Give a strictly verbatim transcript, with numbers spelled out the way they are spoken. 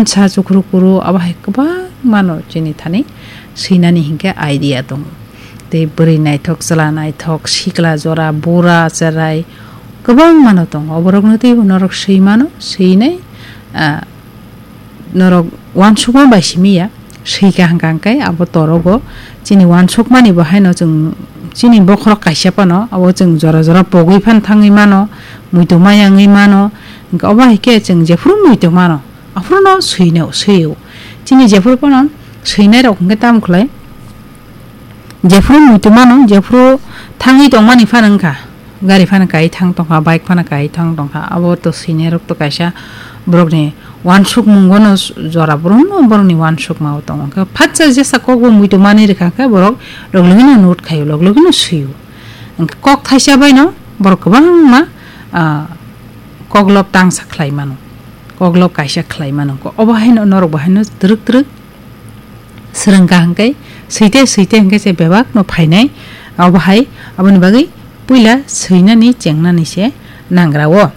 Sa chukhru kuru abo hai kwbangma no chini thani swinani hinkhe idea tongo. Tei bwrwi naithok, chwla naithok, sikla jora, bura cherai kwbangma no tongo. Oborokno teibo norok swi mano, swinai, ah, norok uansukma bai simi ya, swi kaham kaham khe abo torogo. Chini uansukmani bo haino chwng chini bokhorok kaisa phano abo chwng jora jora pogwi phan thangwi mano, muitu maya wngwi mano. Hinkhe obo hai khe chwng jephuru muitu mano, aphuru no swino, swio. Chini jephuru phano swinai rok hinkhe tamo khlai, jephuru muitu mano, jephuru thangwi tongmani phano wngkha, gari phano kai thang tongkha, bike phano kai thang tongkha, abo to swinai rok to kaisa borokni uansukmungo no jora, borokno borokni uansukma o tongo. Hinkhe phatsa jesa kokbo muitu mani rwkha khe borok log logi no note khaio, log logi no swio. Hinkhe kok thaisa bai no borok kwbangma, ah, koklop tangsa khlai mano, koklop kaisa khlai mano. Obo haino norok bo haino twrwk twrwk swrwng kha hinkhe, swite swite hinkhe se bebak no phainai. Obo hai aboni bagwi puila swinani chengnani se nangra o.